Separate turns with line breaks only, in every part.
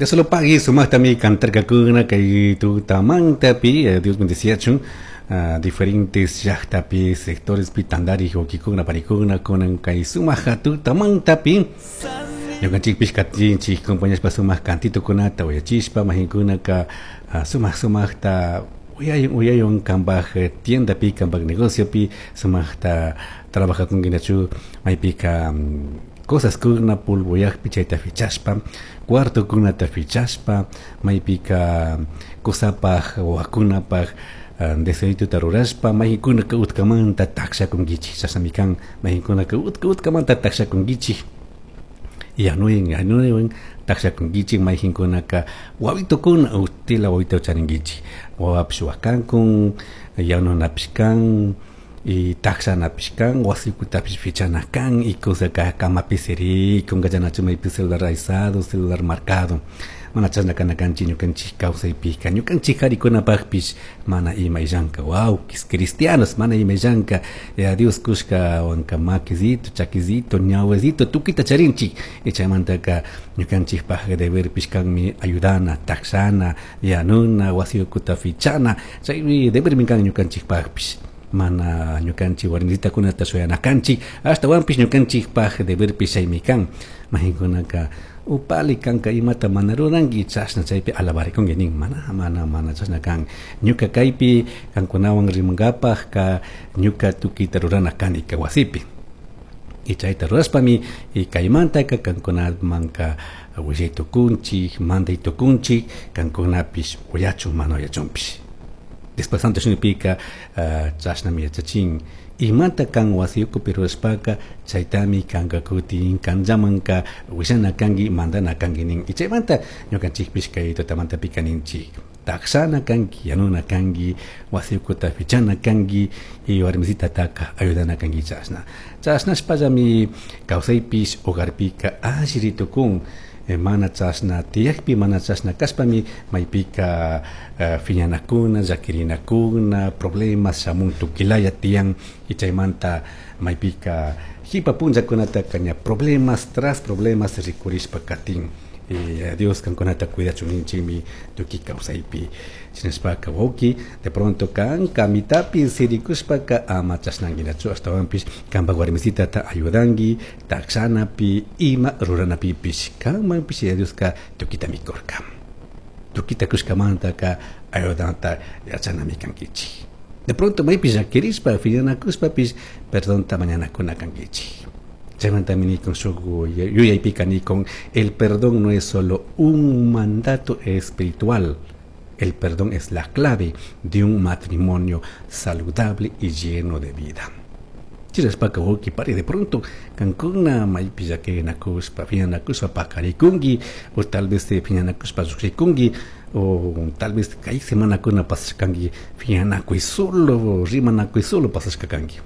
Dios lo pague, sumaqtami cantarkakuna kay tutamantapi, Dios bendeciachun, diferentes llaqtapi, sectorespi tandari wawkikuna panikuna kunan kay sumaq tutamantapi. Ñukanchikpish katinchik compañashpa sumaq cantitukunata uyachishpa mahinkunaka sumaq sumaqta uyayun uyayun kanpaj tiendapi, kanpaj negociopi sumaqta trabajakunkinachu maypika cosas kuna polvoyaqpi chayta fichashpa, cuartokunata fichashpa, maypika kusapaj wawakunapaj deseituta rurashpa maykunaka utkamanta takshakunkichik, chashnami kan maykunaka utka utkamanta takshakunkichik, yanuywan yanuywan takshakunkichik, mayjinkunaka wawitukuna utila wawita charinkichik, wawapish wakankun, yanunapish kan, y takshanapish kan, wasikutapish fichana kan, y kusaka camapi sirikun, kallanachu maypi celular aysado, celular marcado, mana chashna kana kanchik ñukanchik kawsaypika, ñukanchik karikunapakpish mana ima illanka, wawkis cristianos mana ima illanka, ya Dios kushka wanka makisito, chakisito, ñawesito tukuyta charinchik, y chaymantaka ñukanchikpak deberpish kanmi ayudana, takshana, yanuna, wasi ukuta fichana, chaymi debermi kan ñukanchikpakpish. Mana ñukanchik warmisitakunata shuyana kanchik, ashtawanpish ñukanchikpak deberpish chaymi kan. Mahinkunaka upali kanka imata mana ruranki chashna chaypi alabarikunki nin, mana, mana, mana chashna kan. Ñuka kaypi kankunawan rimankapajka ñuka tukuyta rurana kani kay wasipi. Y chayta rurashpami y kaymantaka kankunamanka willay tukunchik, manday tukunchik, kankunapish uyachun mana uyachunpish. Después Santo Shimipika, chashnami yachachin. Imata kan wasi ukupi rurashpaka chaytami kanka kutin kanllamanka willana kanki, mandana kanki nin. Y chaymanta ñukanchikpish kay tutamantapika ninchik. Takshana kanki, yanuna kanki, wasi ukuta fichana kanki, y warmisitataka ayudana kanki chashna. Chashnashpallami kawsaypish hogarpika alli ritukun. Mana chashna tiyakpi, mana chashna kashpami maypika fiñanakuna, llakirinakuna, problemas shamun tukilaya tiyan, y chaymanta maypika jipa punllakunataka ña problemas tras problemas rikurishpa katin. Dios kankunata cuidachun ninchikmi tukuy kawsaypi. Shinashpaka wawki, de pronto kan kamitapi sirikushpaka ama chashnanguinachu, ashtawanpish kanpak warmisitata ayudanki takshanapi, ima ruranapipish, kanmanpish Yaya Dioska tukuyta mikurka. Tukuyta kushkamantaka ayudanta yachanami kankichik. De pronto maypi llakirishpa, fiñanakushpapish perdonta mañanakuna kankichik. Chaymantami nikun shuk yuyaypika nikun, el perdón no es solo un mandato espiritual, el perdón es la clave de un matrimonio saludable y lleno de vida. Chirashpaka wawki pari de pronto kankuna maypi llakirinakushpa, fiñanakushpa pakarikunki, o tal vez fiñanakushpa llukshikunki, o tal vez kay semanakuna pasashkanki fiñanakuy solo, rimanakuy solo pasashka kanki.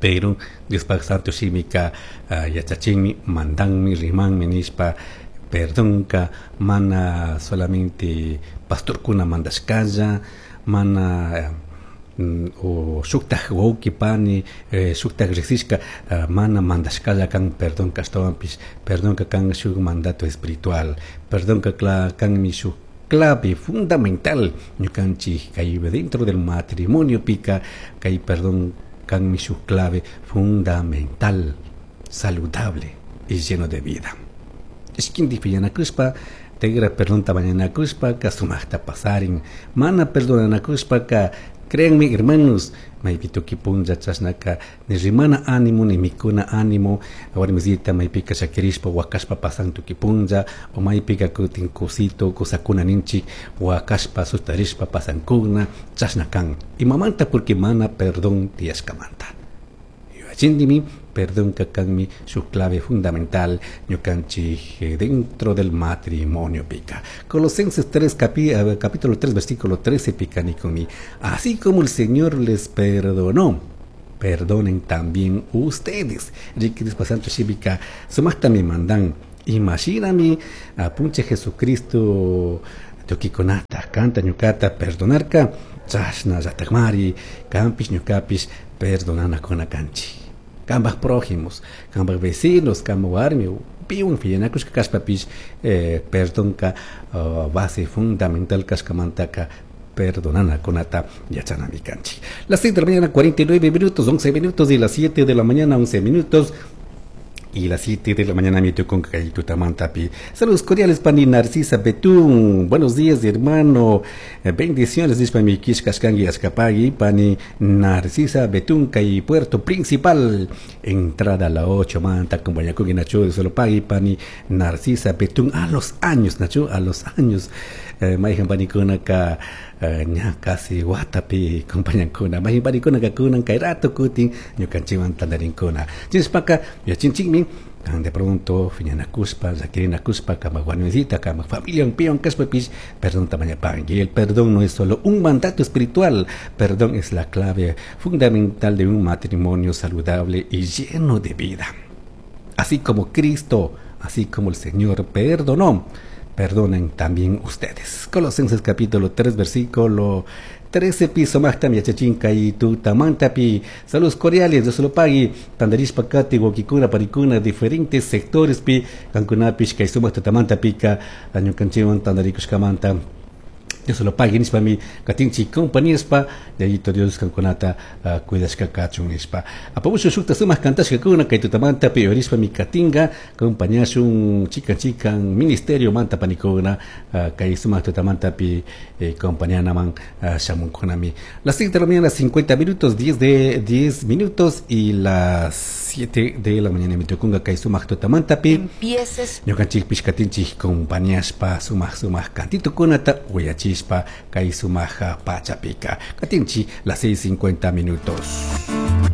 Pero Diospak Santo Shimika, yachachinmi, mandanmi, rimanmi nishpa, perdonka mana solamente pastorkuna mandashkalla, mana, o shuktaj wawki pani, shuktaj riksishka, mana mandashkalla kan perdonka, ashtawanpish perdonka kan shuk mandato espiritual, perdonka kanmi shuk clave fundamental ñukanchik kay dentro del matrimonio pika kay perdón kanmi shuk clave fundamental, saludable y lleno de vida. Ishkinti piñanakushpa, tegra perdonta mañanakushpa, ka sumaqta pasarin. Mana perdonanakushpa ka, créanme hermanos, maypi tuki punlla chashnaka, ni rimana ánimo, ni mikuna ánimo, warmisita maypika shakirishpa, wakashpa pasan tuki punlla, o maypika kutin kusito, kusakuna ninchik, wakashpa sustarishpa pasankuna, chashna kan. Imamanta porque mana perdón tiyashkamanta. Yuyachindimi, perdón ka kanmi su clave fundamental ñukanchik dentro del matrimonio pica. Colosenses 3, capítulo 3, versículo 13 pica nikumi. Así como el Señor les perdonó, perdonen también ustedes. Riquis pasanto shibika, sumaqta mi mandan. Imagíname, apunche Jesucristo, tukikunata, kanta ñukata, perdonarka, chashna llatakmari, kampish ñukapish, perdonana kuna kanchi. Kambaj prójimos, kambaj vecinos, kambaj warmi, Piwan fiñanakushka kashpapish perdonka base fundamental kashkamantaka perdonanakunata yachanami kanchik. Las 6 de la mañana 49 minutos, 11 minutos y las 7 de la mañana 11 minutos y las 7 de la mañana mi con Tutamantapi. Saludos cordiales, Pani Narcisa Betún. Buenos días, hermano. Bendiciones, dice mi Kishkashkangi Ashkapagi, Pani Narcisa Betún, Kay Puerto Principal. Entrada a la 8, manta, acompaña con Nacho de solo pagui, Pani Narcisa Betún. A los años, Nacho, a los años. Maijan pani kunaka ña casi watapi compañankuna mayjan panikunaka kunan kay rato kutin ñukanchikwan tantarinkuna chinshpaka yachinchikmi de pronto fiñanakushpa llaquirinakushpa kama wañuysita kama familia piwan kashpapish perdón mañapanki. Y el perdón no es solo un mandato espiritual, perdón es la clave fundamental de un matrimonio saludable y lleno de vida. Así como Cristo, así como el Señor perdonó, perdonen también ustedes. Colosenses capítulo 3, versículo 13 piso mahtam yachachinka y tutamantapi. Saludos cordiales, Dios lo pague. Tandarishpa kati, wawkikuna, panikuna, diferentes sectores pi, kankunapish, kay sumak tutamantapika, ñukanchikwan tandarikushkamanta. Dios lo pague nishpami katinchik compañispa Yayito Dios kankunata cuidashka kachun nishpa. Apamushu shukta sumak kantashkakuna kay tutamantapi yorishpami katinga compañashun chikan chikan ministerio manta panikuna kay sumak tutamantapi compañanaman shamunkunami. Las 6 de la mañana 50 minutos, 10 de 10 minutos y las 7 de la mañana mi tukunga kay sumak tutamantapi.
Empieces.
Ñukanchikpish katinchik compañashpa sumak sumak kantitukunata uyachispa kay sumak pachapika. Katinchi las 6:50 minutos.